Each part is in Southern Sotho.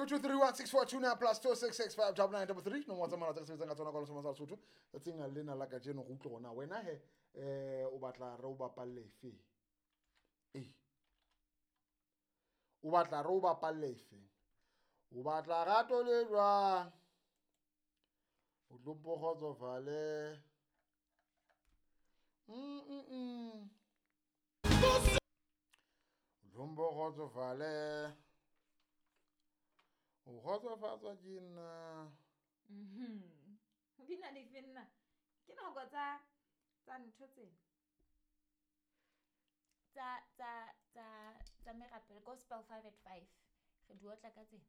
02316429 plus 2665933 nomoro tsa mohala tse re sebetsang ka tsona ka lesoma sa Lesotho. Tsatsing lena la kajeno re utlwe gona wena he o batla re o bapalle efe? Ee. O batla re o bapalle efe? O batla rato le jwang? O tlo mpo kgotsofale. O tlo mpo kgotsofale. O kgotsofatswa ke nna. Di na dife nna? Ke nako tsa ntho tsena. Tsa merapelo, gospel 5 at 5. Re di otla ka tsena.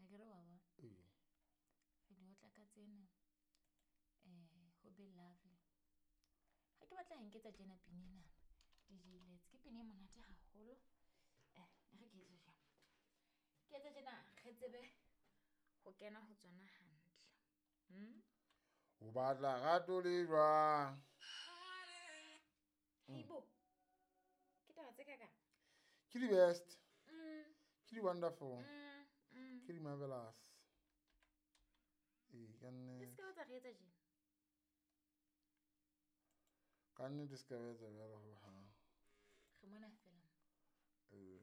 Akere wa bona? Ee. Re di otla ka tsena. Ho be lovely. Ha ke batla nketsa tjena pina ena. DJ Let's ke pina e monate haholo. Re ke etse jwang? Ke etse tjena re tsebe ho kena ho tsona hantle. O batla rato le jwang? Heibo. Ke taba tse kakang? Ke di best. Ke di wonderful. Ke di marvelous. Ee, ka nnete. Ke se ka tsa re etsa tjena. Ka nnete se ka ba etsa jwalo hohang. Re mona fela. Ee.